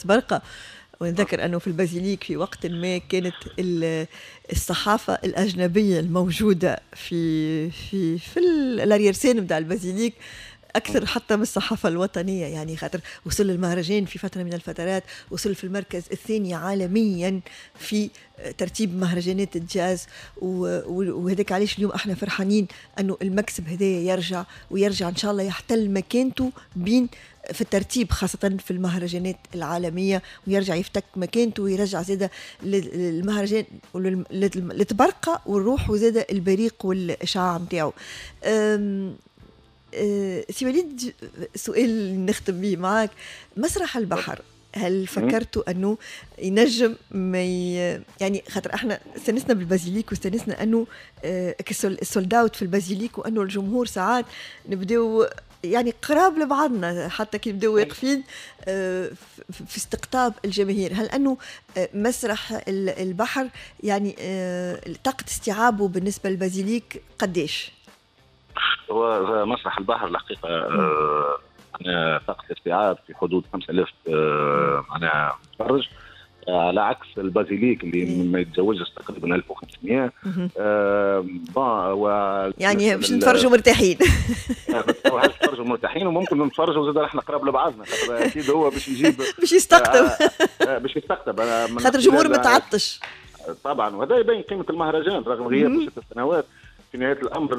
طبرقه. ونذكر أنه في البازيليك في وقت ما كانت الصحافة الأجنبية الموجودة في l'arrière-scène نتاع البازيليك أكثر حتى من الصحافة الوطنية، يعني خاطر وصل المهرجان في فترة من الفترات وصل في المركز الثاني عالميا في ترتيب مهرجانات الجاز، وهذاك علاش اليوم احنا فرحانين أنه المكسب هذا يرجع، ويرجع إن شاء الله يحتل مكانته بين في الترتيب خاصة في المهرجانات العالمية، ويرجع يفتك مكانته ويرجع زادة للمهرجان لطبرقة والروح وزادة البريق والإشعاع نتاعو. سي وليد، سؤال نختم به معاك، مسرح البحر هل فكرتوا أنه ينجم ما يعني خاطر احنا استنسنا بالبازيليك واستنسنا أنه ال sold out في البازيليك، وأنه الجمهور ساعات نبداو يعني قراب لبعضنا حتى كي نبداو واقفين في استقطاب الجماهير، هل أنه مسرح البحر يعني طاقة استيعابه بالنسبة للبازيليك قديش؟ هو مسرح البحر الحقيقة معناها طاقة الاستيعاب في حدود 5000 معناها متفرج، على عكس البازيليك اللي ما يتجاوزش تقريبا 1500. يعني باش نتفرجوا مرتاحين. نتفرجوا مرتاحين، وممكن نتفرجوا زاد احنا قراب لبعضنا، خاطر اكيد هو باش يجيب باش يستقطب باش يستقطب خاطر الجمهور متعطش طبعا، وهذا يبين قيمة المهرجان رغم غياب 6 سنوات. في نهاية الامر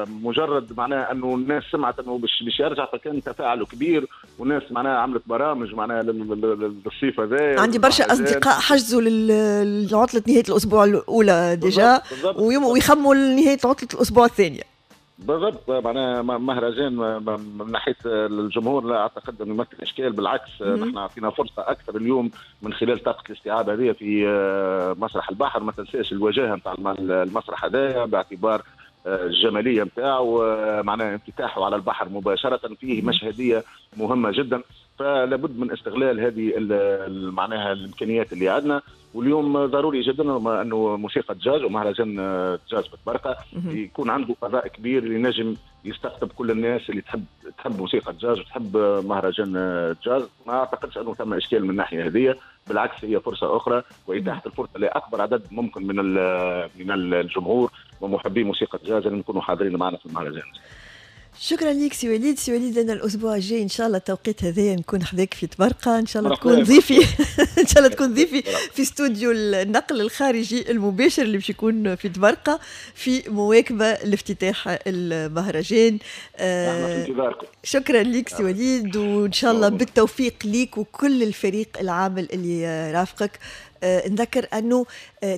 مجرد معناها انه الناس سمعت انه باش يرجع، فكان تفاعل كبير، والناس معناها عملت برامج معناها للصيف هذا. عندي برشا اصدقاء حجزوا لعطله نهاية الاسبوع الاولى déjà، ويخموا لنهاية عطله الاسبوع الثانية. بالضبط، معناها مهرجان من ناحية الجمهور لا اعتقد انه يمثل اشكال، بالعكس نحن اعطينا فرصة اكثر اليوم من خلال طاقة الاستيعاب هذه في مسرح البحر. ما تنساش الوجاهة نتاع المسرح هذايا باعتبار الجمالية نتاعو، معناها انفتاحه على البحر مباشرة، فيه مشهديه مهمة جدا، فلا بد من استغلال هذه معناها الامكانيات اللي عندنا. واليوم ضروري جدا انه موسيقى الجاز ومهرجان الجاز بطبرقه يكون عنده فضاء كبير اللي نجم يستقطب كل الناس اللي تحب موسيقى الجاز وتحب مهرجان الجاز. ما اعتقدش انه ثم اشكال من الناحية هذه، بالعكس هي فرصة اخرى واتاحة الفرصة لاكبر عدد ممكن من الجمهور ومحبي موسيقى الجاز ان يكونوا حاضرين معنا في المهرجان. شكرا لك سي وليد. سي وليد، انا الاسبوع الجاي ان شاء الله التوقيت هذايا نكون حذاك في طبرقه، ان شاء الله تكون ضيفي ان شاء الله تكون ضيفي في استوديو النقل الخارجي المباشر اللي باش يكون في طبرقه في مواكبة لافتتاح المهرجان. شكرا لك سي وليد، وان شاء الله بالتوفيق ليك وكل الفريق العامل اللي رافقك. نذكر أنه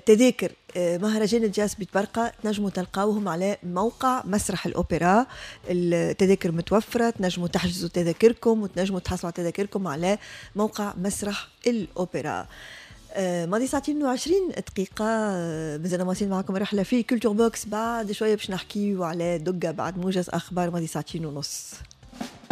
تذاكر مهرجان الجاز بطبرقة تنجموا تلقاوهم على موقع مسرح الأوبرا، التذاكر متوفرة، تنجموا تحجزوا تذاكركم وتنجموا تحصلوا على تذاكركم على موقع مسرح الأوبرا. ماضي 2:20، مازلنا مواصلين معكم رحلة في Culture Box. بعد شوية باش نحكيو على دقة بعد موجز أخبار ماضي 2:30.